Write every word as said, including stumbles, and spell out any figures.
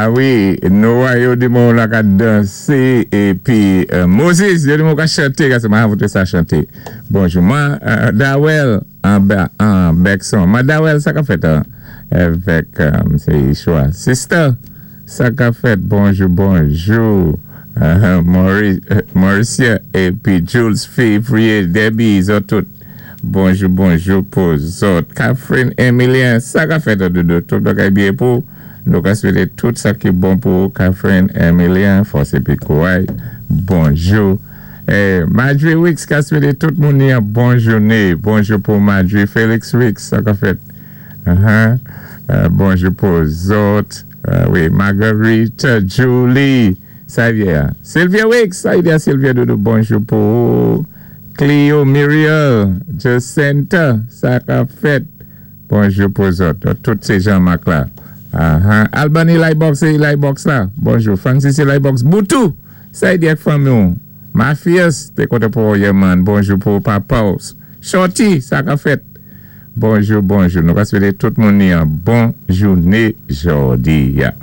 Ah wi, Noah yo di mwen la ka dansé épi euh, Moses yo di mwen ka chanté, kasi mwen voté sa chanté. Bonjou. Mwen euh, Dawel an ba an Bekson. Mwen Dawel sa ka fèt an avèk euh, Msé Yeshua. Sister, sa ka fèt. Bonjou, bonjou. Uh, Maurice, euh, Mauricia épi Jules Février, Debbie, zòt tout. Bonjou, bonjou pou zòt. Catherine Emilien, sa ka fèt doudou. Tout bagay byen pou. Nou ka swété tout sa ki bon pou Catherine Emilien, fòs épi kouray. Bonjou. Eh, Marjorie Wicks ka swété tout moun yon bon jouné. Bonjou pou Marjorie Félix Wicks, sa ka fèt. Uh-huh. Euh, bonjou pou zòt. Euh, wi, Marguerite, Julie, sa y est. Sylvia Wicks, sa y est, Sylvia doudou, bonjou pou Cleo Muriel, Jacinta, sa ka fèt. Bonjou pou zòt. Tout sé Jean-Marc la. Uh-huh. Albany Lightbox, sé Lightbox la. Bonjou. Francis Lightbox. Boutou, sa y est fanmi. Mafias, té kontan pou man. Bonjou pou papa. Shorty, sa ka fèt. Bonjou, bonjou. Nou ka swété tout moun yon bon jouné jòdi a.